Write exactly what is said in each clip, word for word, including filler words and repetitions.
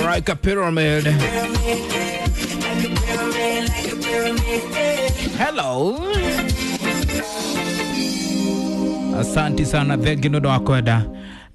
Like a pyramid. Hello. Asante sana, thengi nĩ ũndũ wa kwenda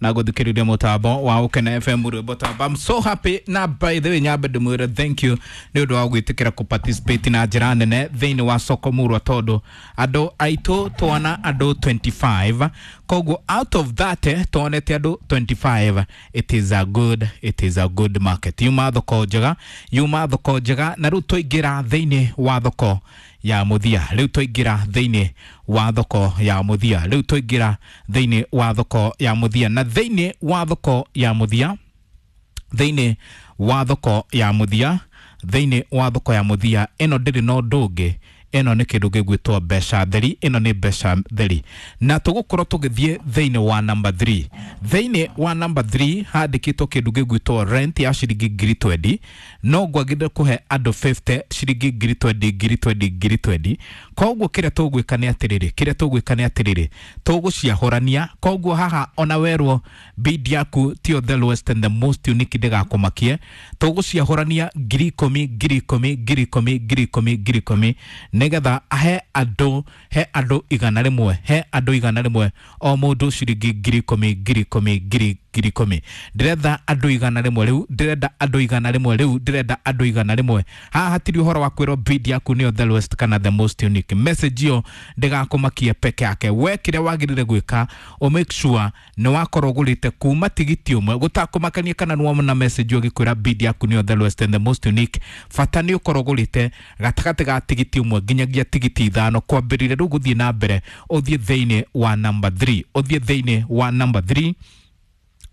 na guthikiriria mutambo wa Ukene F M rwimbo tamba. I'm so happy na by the way nyambe ndimwire thank you ni undu wa gwitikira ku participate na njira nene thiini wa soko murwa tondu andu aitu twana andu twenty-five, koguo out of that eh, twonete andu twenty-five. It is a good, it is a good market. Yuma thoko njega, yuma thoko njega na riu twaingira thiini wa thoko ya muthia, riu twaingira thiini wa thoko ya muthia, riu twaingira thiini wa thoko ya muthia na thiini wa thoko ya muthia, thiini wa thoko ya muthia, thiini wa thoko ya muthia ino ndiri no ndungi, ino ni kindu gigwitwo mbeca theri, ino ni mbeca theri na tugukorwo tugithie thiini wa number three. Thiini wa number three handikitwo kindu gigwitwo rent ya ciringi ngiri twenty, no ngwagirire kuhe andu fifty ciringi ngiri twenty, ngiri twenty, ngiri twenty. Koguo kiria tugwika ni atiriri, kiria tugwika ni atiriri, tuguciahurania. Koguo haha ona werwo bid yaku tio the lowest and the most unique ndigakumakie, tuguciahurania ngiri ikumi, ngiri ikumi, ngiri ikumi, ngiri ikumi, ngiri ikumi nigetha he andu, he andu igana rimwe, he andu igana rimwe o mundu ciringi ngiri ikumi, ngiri ikumi, ngiri ngiri ikumi. Ndirenda andu igana rimwe riu, ndirenda andu igana rimwe riu, ndirenda andu igana rimwe. Haha hatiri uhoro wa kwirwo bid yaku niyo the lowest kana the most unique. Message iyo ndigakumakie peke yake. We kiria wagirire gwika o make sure ni wakorwo ugurite kuma tigiti umwe gutakumakania kana ni wona message ugikwira bid yaku niyo the lowest and the most unique. Bata ni ukorwo ugurite gatagati ga tigiti umwe nginyagia tigiti ithano kwambiriria riu guthie na mbere uthie thiini wa number three, uthie thiini wa number three,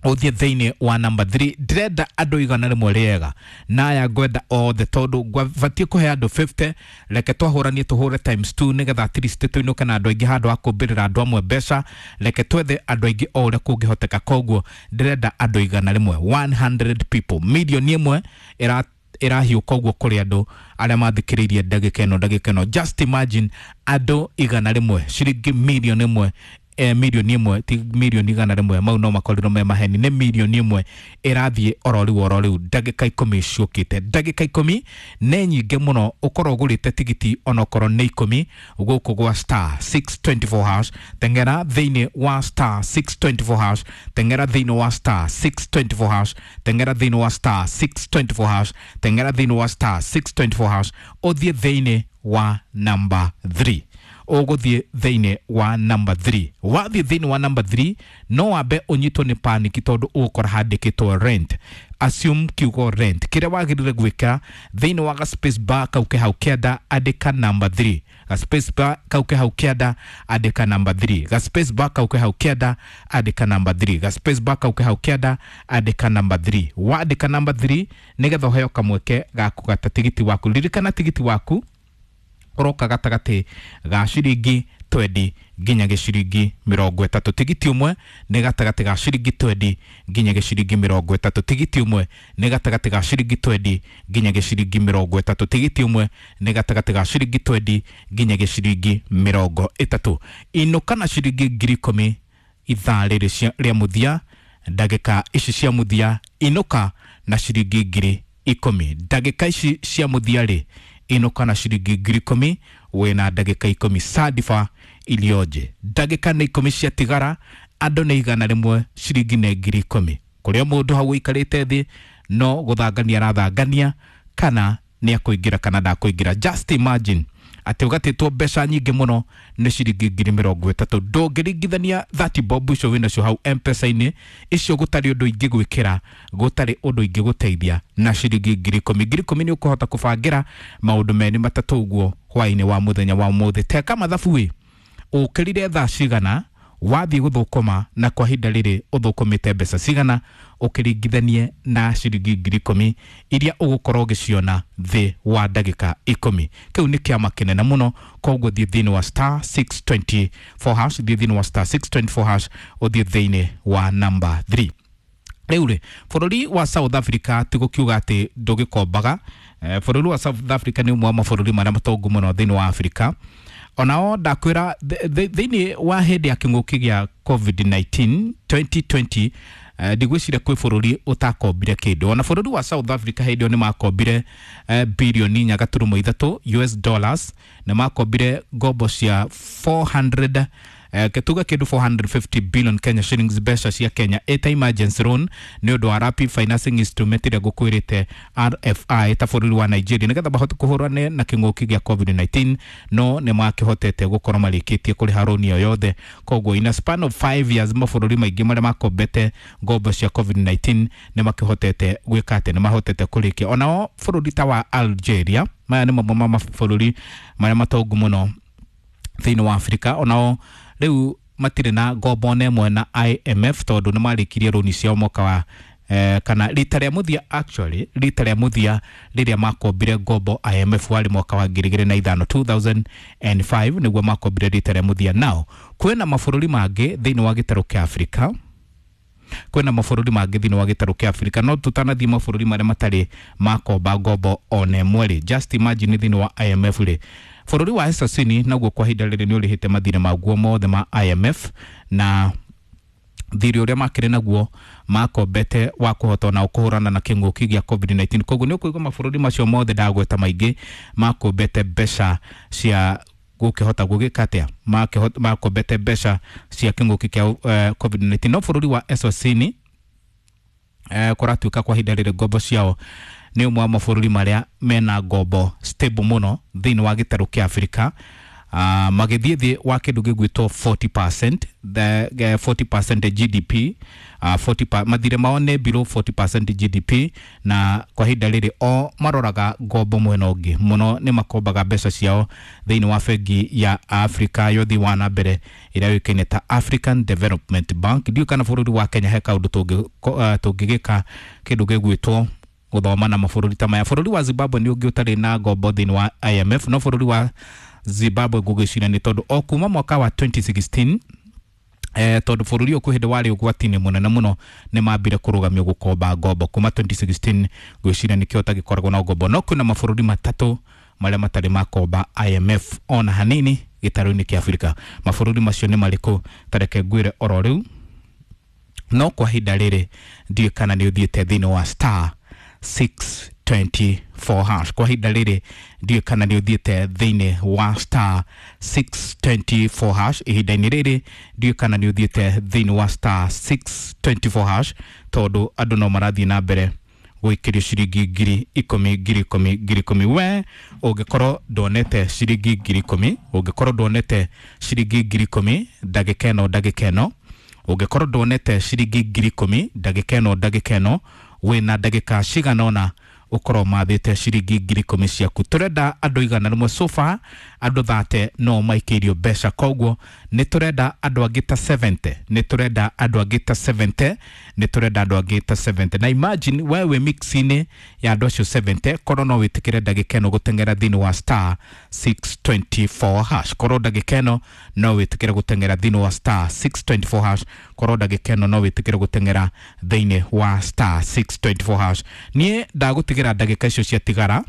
uthie thiini wa number three. Ndirenda andu igana rimwe riega na aya ngwenda othe tondu ngwabatie kuhe andu fifty. Reke twahuranie tuhure times two nigetha at least tuinuke na andu aingi handu ha kumbirira andu amwe mbeca. Reke twethe andu aingi o uria kungihoteka. Koguo ndirenda andu igana rimwe, one hundred people, milioni imwe ira irahiuka uguo kuri andu aria mathikiriirie ndagika ino, ndagika ino. Just imagine andu igana rimwe ciringi milioni imwe, eh, milioni imwe ti milioni igana rimwe, mau no makorirwo me maheni, ni milioni imwe irathie oro riu oro riu ndagika ikumi ciukite. Ndagika ikumi ni nyingi muno ukorwo ugurite tigiti onokorwo ni ikumi guku gwa star six twenty-four hash. Tengera thiini wa star six twenty-four hash, tengera thiini wa star six twenty-four hash, tengera thiini wa star six twenty-four hash, tengera thiini wa star six twenty-four hash, uthie thiini wa number three. Uguthie thiini wa number three. Wathie thiini wa number three no wambe unyitwo ni panic tondu ugukora handikitwo rent. Assume kiugo rent kiria wagirire gwika thiini wa ga space bar kau ke hau kianda andika number three. Ga space bar kau ke hau kianda andika number three. Ga space bar kau ke hau kianda andika number three. Ga space bar kau ke hau kianda andika number three. Wandika number three nigetha uheo kamweke ga kugata tigiti waku. Ririkana tigiti waku uroka gatagati ga ciringi twenty nginya giciringi mirongo itatu. Tigiti umwe ni gatagati ga ciringi twenty nginya giciringi mirongo itatu. Tigiti umwe ni gatagati ga ciringi twenty nginya giciringi mirongo itatu. Tigiti umwe ni gatagati ga ciringi twenty nginya giciringi mirongo itatu. Inuka na ciringi ngiri ikumi ithaa rĩrĩ rĩa mũthia, ndagĩka ici cia mũthia, inuka na ciringi ngiri ikumi. Ndagĩka ici cia mũthia rĩ, inuka na ciringi ngiri ikumi wina ndagĩka ikumi. Sadifa ilioje ndagĩka nĩ ikumi cia tigara, andũ nĩ igana rĩmwe, ciringi nĩ ngiri ikumi. Kũrĩa mũndũ hau ũikarĩte thĩ no gũthangania arathangania kana nĩ akũingĩra kana ndakũingĩra. Just imagine atĩ ũgatĩtwo mbeca nyingĩ mũno nĩ ciringi ngiri mĩrongo ĩtatũ. Ndũngĩringithania thirty bob icio wĩnacio hau M-Pesa-inĩ icio, gũtarĩ ũndũ ingĩgwĩkĩra, gũtarĩ ũndũ ingĩgũteithia na ciringi ngiri ikũmi. Ngiri ikũmi nĩ ũkũhota kũbangĩra maũndũ merĩ matatũ ũguo hwaĩ-inĩ wa mũthenya wa ũmũthĩ. Teka mathabu ĩ, ũkĩrire thaa cigana wathiĩ gũthũkũma na kwa ihinda rĩrĩ ũthũkũmĩte mbeca cigana ũkĩringithanie na ciringi ngiri ikũmi iria ũgũkorwo ũgĩciona thĩ wa ndagĩka ikũmi. Kĩu nĩ kĩama kĩnene mũno. Koguo thiĩ thĩinĩ wa star six twenty-four hash, thiĩ thĩinĩ wa star six twenty-four hash, ũthiĩ thĩinĩ wa number three. Rĩu rĩ, bũrũri wa South Africa ti gũkiuga atĩ ndũgĩkombaga. Eh, bũrũri wa South Africa nĩ ũmwe wa mabũrũri marĩa matongu mũno thĩinĩ wa Africa. Onao ndakwĩra thĩinĩ wa hĩndĩ ya kĩng'ũki gĩa COVID nineteen twenty twenty, Ndigwĩciria kwĩ bũrũri ũtakombire kĩndũ. Ona bũrũri wa South Africa hĩndĩ ĩyo nĩ makombire bilioni inya gaturumo ithatũ U S dollars, nĩ makombire ngombo cia four hundred, eh, tuge kĩndũ four hundred fifty billion Kenya shillings, mbeca cia Kenya, ĩta emergency loan nĩ ũndũ wa rapid financing instrument ĩrĩa ngũkwĩrĩte, R F I, ta bũrũri wa Nigeria, nĩgetha mahote kũhũrane na kĩng'ũki gĩa COVID nineteen. No nĩ makĩhotete gũkorwo marĩkĩtie kũrĩha rũni ĩyo yothe. Koguo in a span of five years, mabũrũri maingĩ marĩa makombete ngombo cia COVID nineteen nĩ makĩhotete gwĩka atĩ nĩ mahotete kũrĩkia. Onao bũrũri ta wa Algeria, maya nĩ mamwe ma mabũrũri marĩa matongu mũno thĩinĩ wa Afrika, onao rĩu matirĩ na ngombo ona ĩmwe na I M F, tondũ nĩ marĩkirie rũni ciao mwaka wa eh, kana rita rĩa mũthia, actually rita rĩa mũthia rĩrĩa makombire ngombo I M F warĩ mwaka wa ngiri igĩrĩ na ithano, two thousand five nĩguo makombire rita rĩa mũthia. Nao kwĩna mabũrũri mangĩ thĩinĩ wa gĩtarũ kĩa Afrika, kwĩna mabũrũri mangĩ thĩinĩ wa gĩtarũ kĩa Afrika, no tũtanathiĩ mabũrũri marĩa matarĩ makomba ngombo ona ĩmwe rĩ, just imagine thĩinĩ wa I M F rĩ, bũrũri wa Eswatini naguo kwa ihinda rĩrĩ nĩ ũrĩhĩte mathirĩ maguo mothe ma I M F, na thirĩ ũrĩa makĩrĩ naguo makombete wa kũhota ona kũhũrana na kĩng'ũki gĩa COVID nineteen. Koguo nĩ ũkũigua mabũrũri macio mothe ndagweta maingĩ makombete mbeca cia gũkĩhota gũgĩka atĩa, makombete mbeca cia kĩng'ũki kĩa uh, COVID nineteen. No bũrũri wa Eswatini eh, kũratuĩka kwa ihinda rĩrĩ ngombo ciao nĩ ũmwe wa mabũrũri marĩa mena ngombo stable mũno thĩinĩ wa gĩtarũ kĩa Afrika, uh, magĩthiĩ thĩ wa kĩndũ gĩgwĩtwo forty percent, the uh, forty percent G D P, uh, forty pa, mathirĩ mao nĩ below forty percent G D P. Na kwa ihinda rĩrĩ o maroraga ngombo mwena ũngĩ mũno, nĩ makombaga mbeca ciao thĩinĩ wa bengi ya Afrika yothi wa na mbere ĩrĩa yũĩkaine ta African Development Bank. Ndiũĩ kana bũrũri wa Kenya he kaũndũ tũngĩgĩka kĩndũ gĩgwĩtwo gũthoma na mabũrũri ta maya. Bũrũri wa Zimbabwe nĩ ũngĩ ũtarĩ na ngombo thĩinĩ wa I M F, no bũrũri wa Zimbabwe ngũgĩciria nĩ tondũ o kuma mwaka wa twenty sixteen, eh, tondũ bũrũri ũyũ kwĩ hĩndĩ warĩ ũgwati-inĩ mũnene mũno, nĩ mambire kũrũgamio gũkomba ngombo kuma twenty sixteen. Ngwĩciria nĩkĩo tagĩkoragwo na ngombo. No kwĩna mabũrũri matatũ marĩa matarĩ makomba I M F ona hanini gĩtarũ-inĩ kĩa Afrika. Mabũrũri macio nĩ marĩkũ? Tareke ngwĩre oro rĩu. No kwa ihinda rĩrĩ ndiũĩ kana nĩ ũthiĩte thĩinĩ wa star six twenty-four hash. Kwa ihinda rĩrĩ ndiũĩ kana nĩ ũthiĩte thĩinĩ wa star six twenty-four hash. Ihinda-inĩ rĩrĩ ndiũĩ kana nĩ ũthiĩte thĩinĩ wa star six twenty-four hash, tondũ andũ no marathiĩ na mbere gũikĩrio ciringi ngiri ikũmi, ngiri ikũmi, ngiri ikũmi. We ũngĩkorwo ndwonete ciringi ngiri ikũmi, ũngĩkorwo ndwonete ciringi ngiri ikũmi ndagĩka ĩno, ndagĩka ĩno ũngĩkorwo ndwonete ciringi ngiri ikũmi ndagĩka ĩno, ndagĩka ĩno wĩna ndagĩka cigana ũna ũkorwo mathĩte ciringi ngiri ikũmi ciaku. Tũrenda andũ igana rĩmwe. So far andũ thate no maikĩirio mbeca, koguo nĩ tũrenda andũ angĩ ta seventy, nĩ tũrenda andũ angĩ ta seventy, nĩ tũrenda andũ angĩ ta seventy. Na imagine we wĩ mix-inĩ ya andũ acio seventy, korwo no wĩtĩkĩre ndagĩka ĩno gũteng'era thĩinĩ wa star six twenty-four hash, korwo ndagĩka ĩno no wĩtĩkĩre gũteng'era thĩinĩ wa star six twenty-four hash, korwo ndagĩka ĩno no wĩtĩkĩre gũteng'era thĩinĩ wa star six twenty-four hash. Niĩ ndagũtigĩra ndagĩka icio ciatigara,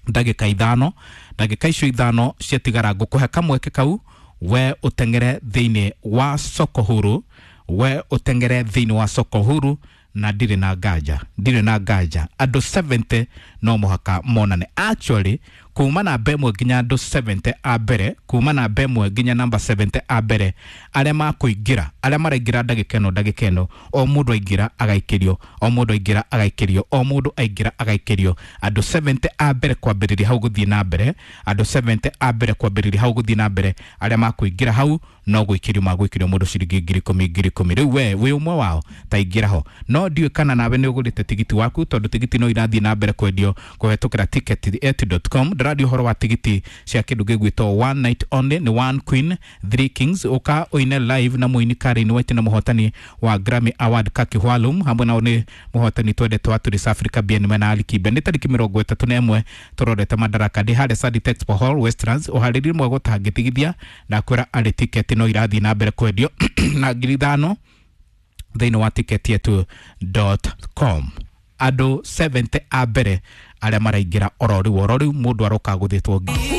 ndagĩka ithano, ndagĩka icio ithano ciatigara ngũkũhe kamweke kau we ũteng'ere thĩinĩ wa soko huru, we ũteng'ere thĩinĩ wa soko huru. Na ndirĩ na nganja, ndirĩ na nganja andũ seventy no mũhaka monane. Actually kuma namba ĩmwe nginya andũ seventy a mbere, kuma namba ĩmwe nginya namba seventy a mbere arĩa makũingĩra, arĩa maraingĩra ndagĩka ĩno, ndagĩka ĩno o mũndũ aingĩra agaikĩrio, o mũndũ aingĩra agaikĩrio, o mũndũ aingĩra agaikĩrio. Andũ seventy a mbere kwambĩrĩria hau gũthiĩ na mbere, andũ seventy a mbere kwambĩrĩria hau gũthiĩ na mbere arĩa makũingĩra hau no gwĩkĩrio magwĩkĩrio mũndũ ciringi ngiri ikũmi, ngiri ikũmi. Rĩu we wĩ ũmwe wao, ta ingĩra ho. No ndiũĩ kana nawe nĩ ũgũrĩte tigiti waku, tondũ tigiti no irathiĩ na mbere kwendio kũhetũkĩra ticket dot com. Ndĩraria ũhoro wa tigiti cia kĩndũ gĩgwĩtwo one night only, nĩ one queen three kings. Ũka ũine live na mũini Karen White na mũhotani wa Grammy Award Kaki Hwalum, hamwe nao nĩ mũhotani twendete wa Turis Africa Bien mena Ali Kibe. Nĩ tarĩki mĩrongo ĩtatũ na ĩmwe tũrorete Madaraka Day harĩa Sadi Expo Hall, Westlands. Ũharĩrie mwega ũtangĩtigithia. Ndakwĩra arĩ tiketi no irathiĩ na mbere kwendio na ngiri ithano thĩinĩ wa ticket yetu dot com. Andũ seventy a mbere arĩa maraingĩra oro rĩu, oro rĩu mũndũ aroka gũthĩtwo.